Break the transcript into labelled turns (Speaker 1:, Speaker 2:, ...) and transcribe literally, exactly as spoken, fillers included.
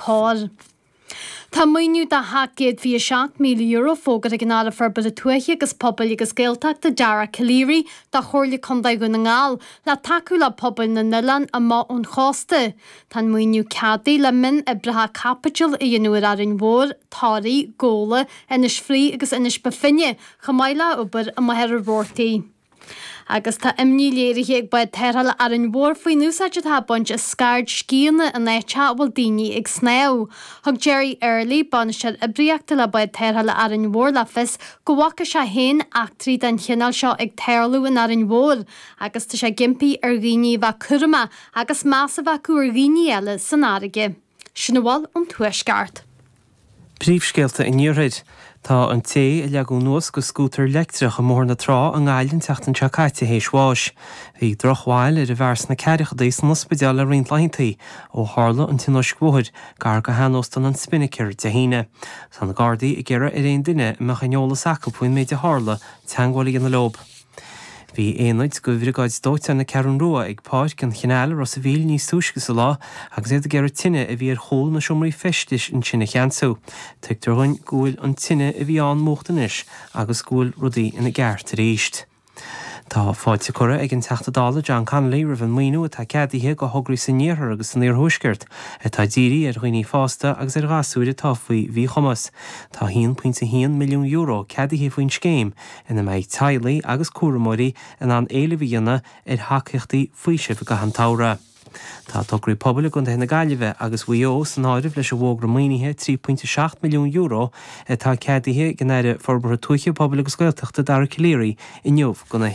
Speaker 1: Cor. Tá maoiniú de sheacht gcéad fiche seacht míle euro fógartha ag an Aire Forbartha Tuaithe agus Pobail agus Gaeltachta Dara Calleary do Chomhairle Contae Dhún na nGall le tacú le pobail na n-oileán amach ón chósta. Tá an maoiniú ceadaithe le mionoibreacha caipitil a dhéanamh ar Árainn Mhór, Toraigh, Gabhla, Inis Fraoich agus Inis Bó Finne, chomh maith le obair i Machaire Rabhartaigh. Agus tá imní léirithe ag Bád Tarrthála Árainn Mhór faoin úsáid atá á baint as scairdscíonna in áiteacha a bhfuil daoine ag snámh. Thug Jerry Early, bainisteoir oibríochta le Bád Tarrthála Árainn Mhór le fios go bhfaca sé féin eachtraí den chineál seo ag tarlú in Árainn Mhór agus tá sé ag impí ar dhaoine a bheith cúramach agus meas a bheith acu ar dhaoine eile san fharraige. Sin a bhfuil ón Tuaisceart.
Speaker 2: Príomhscéalta an Iarthair. Tá an té a leagadh anuas de scútar leictreach i mBóthar na Trá i nGaillimh an tseachtain seo caite théis bháis. Bhí drochbhail ar an bhfear sna ceathrachaidí san ospidéal le roinnt laethanta ó tharla an tionóisc bhóthair gar go sheanóstán an Spinnaker Dé hAoine. Tá na Gardaí ag iarraidh ar aon duine a mbeadh aon eolas acu faoin méid a tharla teagmháil a dhéanamh leo. Bhí aonaid de Bhriogáid Dóiteáin na Ceathrún Rua ag Páirc an Chanáil i Ros a' Mhíl níos túisce sa lá agus iad ag iarraidh tine a bhí ar chúl na seomraí feistis ansin a cheansú. Tuigtear dhúinn go bhfuil an tine a bhí ann múchta anois agus go bhfuil rudaí ina gceart arís. Tá fáilte curtha ag an Teachta Dála John Connolly roimh an maoiniú atá ceadaithe do thograí san iarthar agus san iarthuaisceart atá dírithe ar dhaoine fásta agus ar ghasúir atá faoi mhíchumas. Tá a haon pointe a haon milliún euro ceadaithe faoin scéim ina mbeidh teaghlaigh agus cúramóirí in ann éileamh a dhéanamh ar thacaíochtaí faoisimh i gcaitheamh an tsamhraidh. Tá tograí pobail i gContae na Gaillimhe agus Mhaigh Eo san áireamh leis an bhfógra maoinithe trí pointe seacht milliún euro atá ceadaithe ag an Aire Forbartha Tuaithe, Pobail agus Gaeltachta Dara Calleary inniu do na